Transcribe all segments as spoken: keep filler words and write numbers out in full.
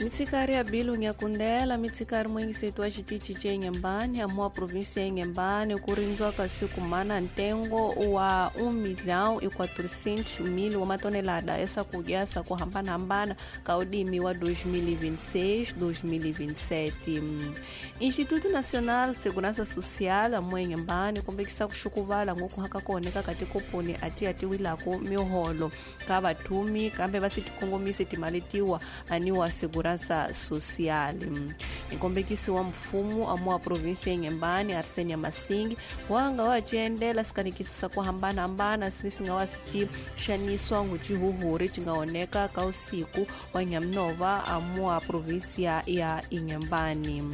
Mitsikari ya Bilu Nyakundela mitsikari mwengisetu wa xitichi ce Inhambane amua província ya Inhambane ku rindziwa kasi kumana ntengo wa um milhão e quatrocentos mil wa matonelada ya swakudya swa ku hambanahambana ka udimi wa dois mil e vinte e seis dois mil e vinte e sete. Instituto Nacional de Segurança Social amua Inhambane kombekisa ku xukuvala ngoku haka kona ka tikoponi ati atiwilako miholo ka vathumi kambe va si tikongomise timali tiwa aniwa segurança social. Nkombekisi wa mfumo amua província ya Inhambane Arsenia Masingi wanga wa ciendela sikanikiso sa ku hambanahambana sinisi nga wa si xaniswa ngucihuhuri ci nga oneka ka usiku wa Nhamnova amua província ya Inhambane.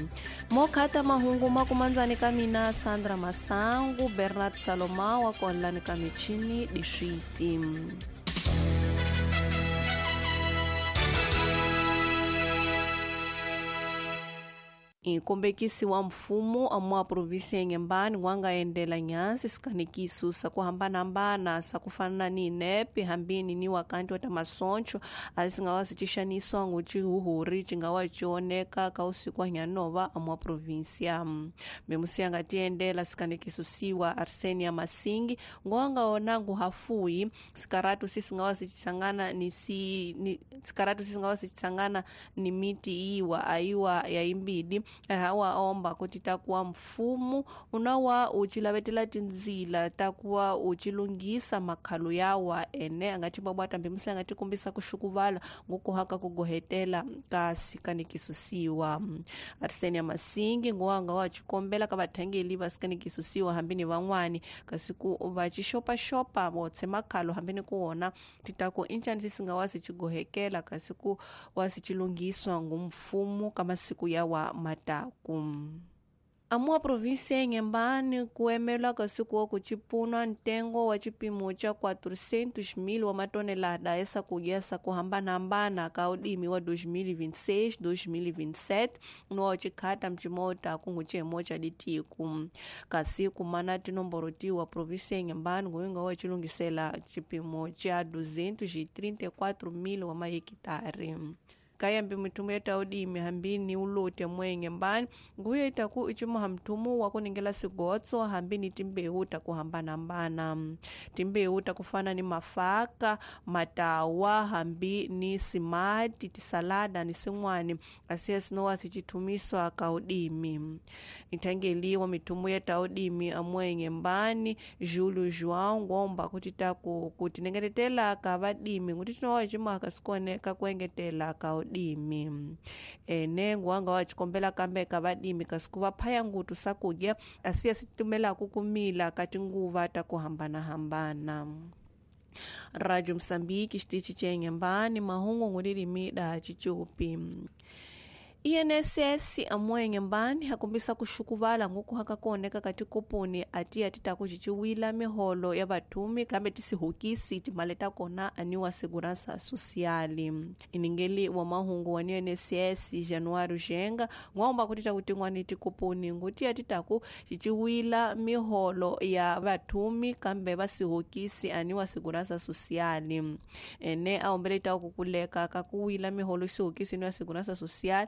Mokhata mahungu makumandzani ka mina Sandra Masangu, Bernard Salomão wa konlani ka michini dixiti. Nkombekisi wa mfumo amua província ya Inhambane wanga endela nyansi sikanikiso sa ku hambanahambana sa ku fana ni inepe hambini ni wakanti wa ta masoncho asi nga wa si xaniswa ngucihuhuri ci nga wa ci oneka ka usiku wa Nhanova amua província. Memusi anga ti endela sikanikiso siwa Arsenia Masingi ngwanga ona nguhafuyi sikaratu sisi nga wa si xangana ni si ni sikaratu sisi nga wa si xangana ni miti iwa aiwa ya imbidi hawa omba kuti takuwa mfumo unawa uchilavetela tindzila takuwa uchilungisa makhalo yawa ene angati babwata mbimusi angati kumbisa kuxukuvala ngokuhaka kugohetela ka sikanikisusiwa. Arsenia Masingi ngwanga wa chikombela ka vathangeli va sikanikisusiwa hambini van'wani kasi ku va xixopaxopa votse makhalo hambini ku wona titako inchani sisinga wa si chigohekela kasi ku wa si chilungiswa ngumfumo ka masiku yawa mataku. Amua província ya Inhambane kuemelwa kasi kuwa kuchipunwa ntengo wa chipimo cha quatrocentos mil wa matonelada ya swakudya swa ku hambanahambana ka udimi wa dois mil e vinte e seis dois mil e vinte e sete no chikhata mchimota kunguchemo cha ditiku. Kasi kumana tinomboro tiwa província ya Inhambane nguyinga wa chilungisela chipimo cha duzentos e trinta e quatro mil wa mahekitare. Kayambi mitumu ya taudimi hambini ulote mwenye mbani nguye itaku ichimu hamtumu wakuningela sigotso hambini timbewu takuhambanambana timbewu takufana ni mafaka matawa hambi ni simati tisalada ni singwani asiya sinowa sichitumiswa kaudimi. Itangeliwa mitumu ya taudimi amwenye mbani Júlio João ngomba kuti taku kutinengetetela kavadimi kuti tinowa ichimu akasikone kakuengetela kaudimi. Dimi ene ngwanga wa chikombela kambe kavadimi kasikuva phaya ngutu sakudya asiya situmela kukumila kati nguva takuhambana hambana. Radio Msambiki xitichi cha Inhambane mahungu ngulilimi da chichupi. I N S S amua Inhambane hakumbisa kuxukuvala ngoku hakakuoneka kati koponi ati atitaku ciciwila miholo ya vathumi kambe tisihukisi timali ta kona aniwa segurança social. Iningeli wa mahungu wa I N S S Januário Jenga ngwamba kuti takutin'wani tikoponi nguti atitaku ciciwila miholo ya vathumi kambe vasihukisi aniwa segurança social. Ene aombele taku kukuleka kakuwila miholo isihukisi niwa segurança social